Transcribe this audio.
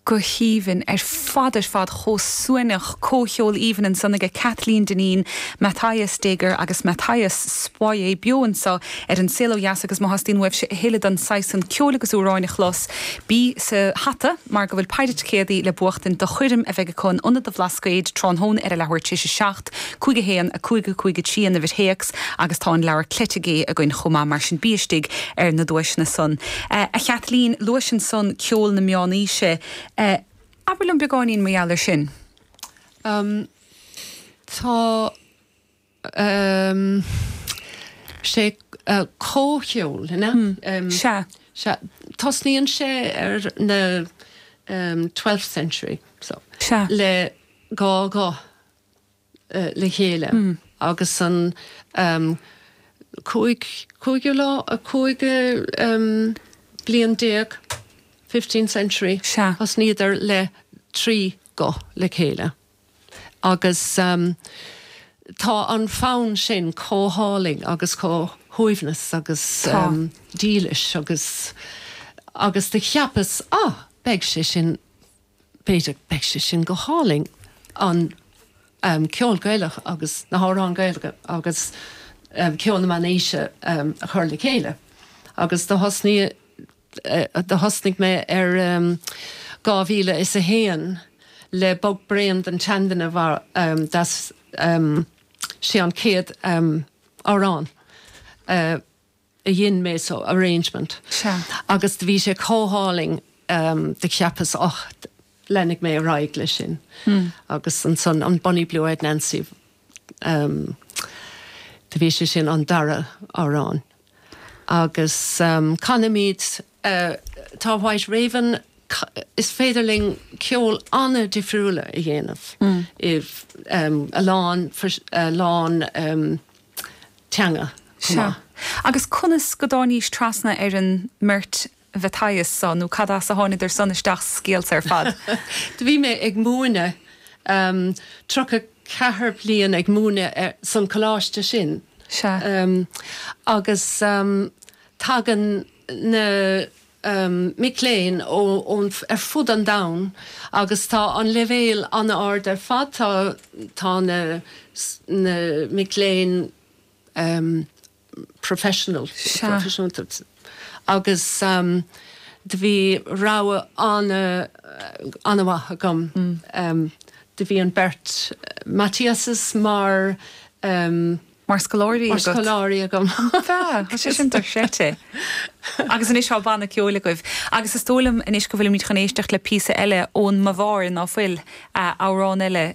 Go haoibhinn ar fad ar fad, chomh suaimhneach, comhcheol aoibhinn ansan aige Kathleen Dineen, Matthias Steger agus Matthias Spoyer beo anso ar An Saol Ó Dheas agus má theastaíonn uaibhse a thuilleadh den saghas san ceoil agus amhráin a chlos, bí sa hata mar go bhfuil péire ticéadaí le buachtaint do choirm a bheidh acu in Ionad an Bhlascaoid tráthnóna ar a leathuair tar éis 7, 5 1, 5 5 3 an uimhir théacs agus tá an leabhar Cleite Gé againn chomh maith, mar sin bí istigh ar na duaiseanna san. A Chaitlín, luais ansan ceol na meánaoise. Abair liom beagáinín mar gheall air sin. Tá sé comhcheol, an ea? Sea. Sea. Tosnaíonn sé ar na twelfth century so. Sea. Le 2 ghuth le chéile agus an cúig, cúigiú lá, 15 bliain, fifteenth century, thosnaíodar le 3 guth le chéile agus tá an fonn sin chomh hálainn agus chomh shuaimhneas agus dílis agus agus do cheapas, ah, beidh sé sin B'fhéidir, beidh sé sin go hálainn, an ceol Gaelach agus na hamhráin Gaeilge agus ceol na meánaoise a chur le chéile. Agus do thosnaigh, do thosnaigh mé ar 2001 le Bog Braon don tSeanduine mar that's sé an chéad amhrán. a dhein mé so arrangement. Sea. Agus do bhí sé chomh hálainn do cheapas och leanfaidh mé ar aghaidh leis sin. Agus ansan an Bonny Blue Eyed Nancy do bhí sé sin an dara amhrán. Agus canaimid tá White Raven is féidir linn ceol an-difriúla a dhéanamh i a lán a lán teanga chomh maith. Agus conas go dtáinís trasna ar an mbeirt Mhatthias so, nó cad as a tháiniodar san isteach sa scéal so ar fad? Do bhí mé ag múineadh, 34 bliain ag múineadh san coláiste sin. Sea. Agus tagann na mic léinn ó ar fud an domhain agus tá an leibhéal an-ard ar fad, tá tá na na mic léinn professional, proifisiúnta agus do bhí rogha an-an-mhaith agam. Do bhí an beirt Matthiases mar. Mar scoláirí agat. Mar scoláirí agam. Bhea, tá sé sin dochreidte. Agus anois tá banna ceoil agaibh. Agus is dóigh liom anois go bhfuilimid chun éisteacht le píosa eile ón mBaváir, ná fuil? Amhrán eile.